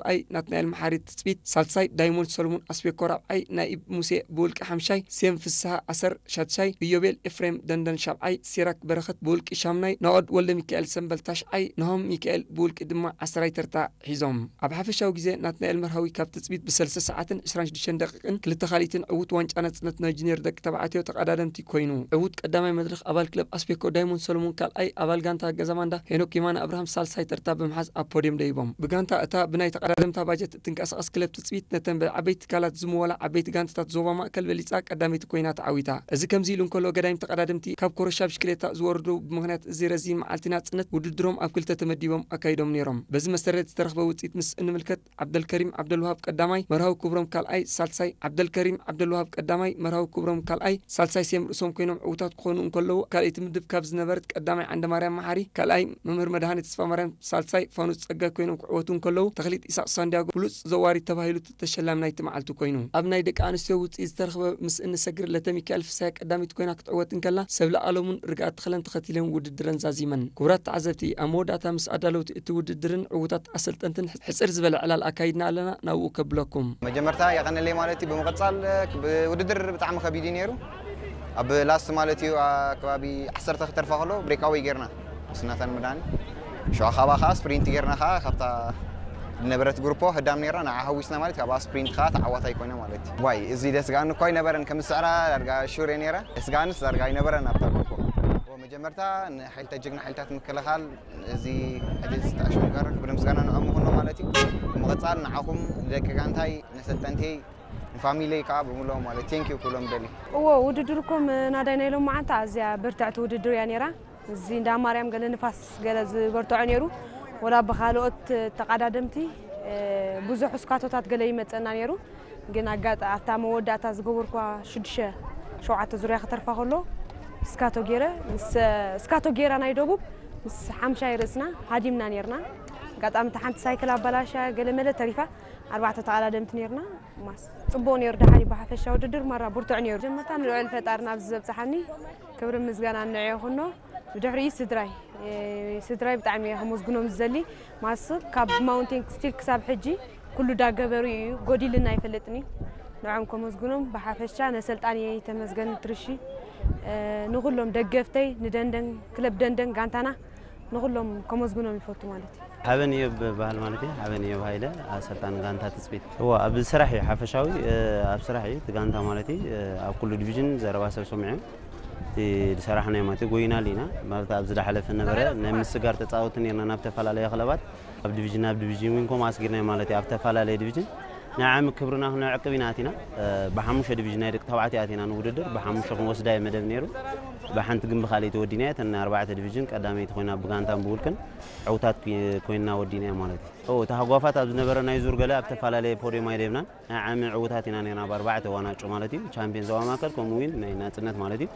ራብዓይ፣ ናትናኤል መሓሪ ትጽቢት ሳልሳይ፣ ዳይሞንድ ሰሎሞን ኣስቤኮ ራብዓይ፣ ናኢብ ሙሴ ብውልቂ ሓምሻይ፣ ሴም ፍስሃ ኣሰር ሻድሻይ፣ ኢዮቤል ኤፍሬም ደንደን ሻብዓይ፣ ሲራክ በረኸት ብውልቂ ሻምናይ፣ ናኦድ ወልደ ሚካኤል ሰምበል ታሽዓይ፣ ናሆም ሚካኤል ብውልቂ ድማ ዓስራይ ተርታ ሒዞም። ኣብ ሓፈሻዊ ግዜ ናትናኤል መርሃዊ ካብ ትጽቢት ብሰለስተ ሰዓትን ዕስራን ሽዱሽተን ደቂቕን ክልተ ካልኢትን ዕዉት ዋንጫ ናጽነት ናይ ጁኒየር ደቂ ተባዕትዮ ተቐዳደምቲ ኮይኑ። ዕዉት ቀዳማይ መድረኽ ኣባል ክለብ ኣስቤኮ ዳይሞንድ ሰሎሞን ካልኣይ፣ ኣባል ጋንታ ገዛማንዳ ሄኖክ የማነ ኣብርሃም ሳልሳይ ተርታ ብምሓዝ ኣብ ፖድዮም ደይቦም። ብጋንታ እታ ብናይ ተቐዳደምታ ባጀት እትንቀሳቐስ ክለብ ትጽቢት ነተን ብዓበይቲ ትካላት ዝምወላ ዓበይቲ ጋንታታት ዞባ ማእከል በሊጻ ቀዳመይቲ ኮይና ተዓዊታ። እዚ ከምዚ ኢሉ እንከሎ ገዳይም ተቐዳደምቲ ካብ ኮረሻ ብሽክሌታ ዝወርዱ ብምኽንያት እዚ ረዚን መዓልቲ ናጽነት ውድድሮም ኣብ ክልተ ተመዲቦም ኣካይዶም ነይሮም። በዚ መሰረት ዝተረኽበ ውጽኢት ምስ እንምልከት ዓብደልከሪም ዓብደልውሃብ ቀዳማይ፣ መርሃዊ ክብሮም ካልኣይ፣ ሳልሳይ፣ ዓብደልከሪም ዓብደልውሃብ ቀዳማይ፣ መርሃዊ ክብሮም ካልኣይ፣ ሳልሳይ ሴም ርእሶም ኮይኖም ዕዉታት ክኾኑ እንከለዉ፣ ካልኣይቲ ምድብ ካብ ዝነበረት ቀዳማይ ዓንደማርያም መሓሪ፣ ካልኣይ መምህር መድሃኔ ተስፋማርያም፣ ሳልሳይ ፋኑስ ጸጋይ ኮይኖም ክዕወቱ እንከለዉ፣ ተኽሊት ኢሳቕ ሳንዲያጎ ብሉጽ ዘዋሪ ተባሂሉ ተሸላሚ ናይቲ መዓልቲ ኮይኑ። ኣብ ናይ ደቂ ኣንስትዮ ውጽኢት ዝተረኽበ ምስ እንሰግር ለተሚካኤል ፍስሃ ቀዳሚት ኮይና ክትዕወት እንከላ፣ ሰብለ ኣለሙን ርግኣት ተኽለን ተኸቲለን ውድድረን ዛዚመን። ክቡራት ተዓዘብቲ፣ ኣብ መወዳእታ ምስ ኣዳለውቲ እቲ ውድድርን ዕዉታት ኣሰልጠንትን ሕጽር ዝበለ ዕላል ኣካይድና ኣለና፣ ናብኡ ከብለኩም። መጀመርታ የቐንለይ ማለት እዩ። ብምቕጻል ብውድድር ብጣዕሚ ከቢድ እዩ ነይሩ። ኣብ ላስት ማለት እዩ ኣብ ከባቢ ዓሰርተ ክተርፋ ከሎ ብሬካወይ ጌርና ምስ ናታን መድሃኒ። ሽዑ ካባ ከዓ ስፕሪንት ጌርና ከዓ ካብታ ዝነበረት ግሩፖ ህዳም ነይራ ንዓ ሃዊስና ማለት ካብኣ ስፕሪንት ከዓ ተዓዋታይ ኮይነ ማለት እዩ። ዋይ እዚ ደስ ገኣኒ እኳ ኣይነበረን ከም ዝስዕራ ዳርጋ ሹር እየ ነይረ። ደስ ገኣንስ ዳርጋ ኣይነበረን ኣብታ ግሩፖ። መጀመርታ ንሓይልታት ጀግና ሓይልታት ምክልኻል እዚ ዕድል ዝተኣሸሙ ጋር ክብሪ ምስጋና ንዕኦም ይኹኖ ማለት እዩ። ብምቕጻል ንዓኹም ንደቂ ጋንታይ ነሰልጠንተይ ንፋሚሊይ ከዓ ብምልኦም ማለት ቴንኪዩ ክብሎም ደሊ። እዎ ውድድርኩም ናዳይ ናይ ሎም መዓልቲ ኣዝያ ብርትዕቲ ውድድር እያ ነይራ። እዚ እንዳ ማርያም ገለ ንፋስ ገለ ዝበርትዖ ነይሩ። ወላ ብኻልኦት ተቐዳደምቲ ብዙሕ እስካቶታት ገለ ይመፀና ነይሩ። ግን ኣጋጣ ኣብታ መወዳእታ ዝገበርኳ ሽዱሽተ ሸውዓተ ዙርያ ክተርፋ ከሎ እስካቶ ገይረ ምስ እስካቶ ገይራ ናይ ደቡብ ምስ ሓምሻይ ርእስና ሃዲምና ነይርና። ኣጋጣሚ እታ ሓንቲ ሳይክል ኣባላሻ ገለ መለ ተሪፋ ኣርባዕተ ተቐዳደምቲ ነይርና። ማስ ጽቡቕ ነይሩ። ደሓሪ ብሓፈሻ ውድድር ማራ ብርቱዕ ነይሩ። ጀመርታ ንልዑል ፈጣሪ ናብዚ ዘብጽሓኒ ክብሪ ምስጋና ንዕ ይኹኖ። ብድሕሪኡ ስድራይ ስድራይ ብጣዕሚ እየ ከመስግኖም ዝደሊ። ማስ ካብ ማውንቴን ስቲል ክሳብ ሕጂ ኩሉ ዳገበሩ እዩ፣ ጎዲልና ኣይፈልጥን እዩ። ንዖም ከመስግኖም ብሓፈሻ ነሰልጣን እየ ተመስገን ትርሺ፣ ንኹሎም ደገፍተይ፣ ንደንደን ክለብ ደንደን ጋንታና ንኹሎም ከመስግኖም ይፈቱ ማለት እዩ። ሓበን እዮብ በሃል ማለት እዩ። ሓበን እዮብ ሃይለ ኣሰልጣን ጋንታ ትጽቢት። እዎ ኣብ ስራሕ እዩ ሓፈሻዊ ኣብ ስራሕ እዩ እቲ ጋንታ ማለት እዩ። ኣብ ኩሉ ዲቪዥን ዘረባ ሰብ ሰሚዑ እቲ ዝሰራሕናዮ ማለት እዩ ጎይናሉ ኢና ማለት ኣብዚ ዝሓለፈ ነበረ ናይ ምስጋር ተጻወቲ ነርና ናብ ተፈላለየ ክለባት ኣብ ዲቪዥን ናብ ዲቪዥን ዊን ኮም ኣስጊርናዮ ማለት እዩ ኣብ ተፈላለየ ዲቪዥን ናይ ዓሚ ክብርና ክነዕቅብ ኢና ኣቲና። ብሓሙሽተ ዲቪዥን ናይ ደቂ ተባዕትዮ ኣቲና ንውድድር ብሓሙሽተ ክንወስዳ እዩ መደብ ነይሩ። ብሓንቲ ግን ብካልእ ተወዲና እያ እተን ኣርባዕተ ዲቪዥን ቀዳመይቲ ኮይና ብጋንታን ብውልቅን ዕውታት ኮይንና ወዲና እያ ማለት እዩ። እታ ሃጓፋት ኣብ ዝነበረ ናይ ዙር ገለ ኣብ ተፈላለየ ፖድዮም ኣይደብናን። ናይ ዓሚ ዕውታት ኢና ነርና ኣብ ኣርባዕተ ዋናጮ ማለት እዩ ቻምፒዮን ዞባ ማእከል ከምኡ እውን ናይ ናጽነት ማለት እዩ።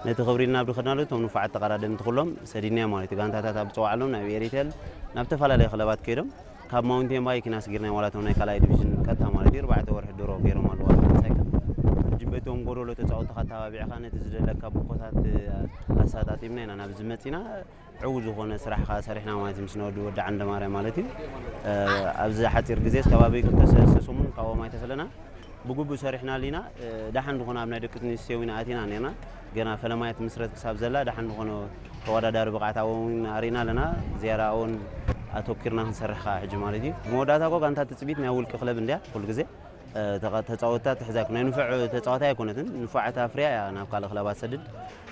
ነቲ ክብሪ ኢልና ኣብ ድኸድናሉ እቶም ንፉዓት ተቐዳደምቲ ኩሎም ሰዲድናዮ ማለት እዩ። ጋንታታት ኣብ ዝጸዋዕሎም ናብ ኤሪቴል ናብ ተፈላለየ ክለባት ከይዶም ካብ ማውንቴን ባይክ ኢና ስጊርናዮም ዋላ እቶም ናይ ካልኣይ ዲቪዥን ቀጥታ ማለት እዩ ኣርባዕተ ወርሒ ድሮ ገይሮም ኣለዋ ሳይክል ሕጂ በቶም ጎደሎ ተጻወትኻ ኣተባቢዕኻ ነቲ ዝደለካ ብኮታት ኣሳጣጢምና ኢና ናብ ዝመጺና። ዕው ዝኾነ ስራሕ ከዓ ሰሪሕና ማለት ምስ ነወዲ ወዲ ዓንደ ማርያም ማለት እዩ። ኣብዚ ሓፂር ግዜ ከባቢ ክልተ ሰለስተ ሰሙን ካብኦም ኣይተፈለና ብግቡእ ሰሪሕና ኣሊና። ደሓን ዝኾነ ኣብ ናይ ደቂ ኣንስትዮ ዊና ኣቲና ነርና። ገና ፈለማየት ምስረት ክሳብ ዘላ ደሓን ዝኾነ ተወዳዳሪ ብቕዓት ኣብኦም ኣሪና ኣለና። ዝያዳ ኣብኦም ኣተኪርና ክንሰርሕ ከዓ ሕጂ ማለት እዩ። መወዳእታ እኮ ጋንታ ትፅቢት ናይ ውልቂ ክለብ እንድያ ኩሉ ግዜ ተፃወትታ ትሕዛ ናይ ንፉዕ ተፃዋታይ ኣይኮነትን። ንፉዓት ኣፍርያ እያ ናብ ካልእ ክለባት ሰድድ።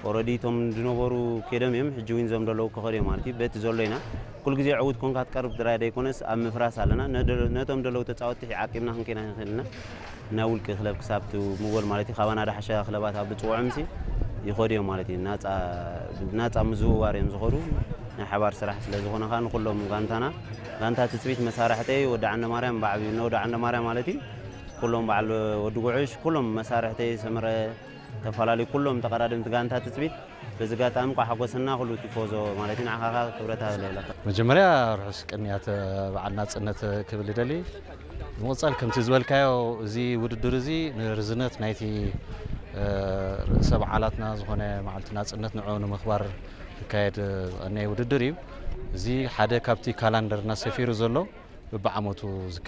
ኦረዲ እቶም ዝነበሩ ከይዶም እዮም ሕጂ ዊን ዞም ዘለዉ ክኸዱ እዮም ማለት እዩ። በቲ ዘሎ ኢና ኩሉ ግዜ ዕውት ኮንካ ትቀርብ ጥራይ ዘይኮነስ ኣብ ምፍራስ ኣለና። ነቶም ዘለዉ ተፃወትቲ ዓቂብና ክንከይና ንኽእል ኢና። ናይ ውልቂ ክለብ ክሳብ ትምወል ማለት እዩ። ካባና ዳሕሻ ክለባት ኣብ ዝፅውዖምሲ ይኸዱ እዮም ማለት እዩ። ናፃ ምዝውዋር እዮም ዝኸዱ። ናይ ሓባር ስራሕ ስለ ዝኾነ ከዓ ንኩሎም ጋንታና ጋንታ ትፅቢት መሳርሕተይ ወዲ ዓንደ ማርያም ብዓብዩ እነ ወዲ ዓንደ ማርያም ማለት እዩ። ኩሎም በዓል ወዲ ጉዕሽ ኩሎም መሳርሕተይ ሰመረ ተፈላለዩ ኩሎም ተቐዳደምቲ ጋንታ ትፅቢት በዚ ጋጣሚ እንኳ ሓጎሰና ኩሉ ቲፎዞ ማለት እዩ ንዓኻ ከዓ ክብረት ኣለካ። መጀመርያ ርሑስ ቅንያት በዓል ናፅነት ክብል ይደሊ። ብምቕፃል ከምቲ ዝበልካዮ እዚ ውድድር እዚ ንርዝነት ናይቲ ርእሰ በዓላትና ዝኾነ መዓልቲ ናፅነት ንዑ ንምኽባር ዝካየድ ዝቐነየ ውድድር እዩ። እዚ ሓደ ካብቲ ካላንደርና ሰፊሩ ዘሎ በብዓመቱ ዝካየድ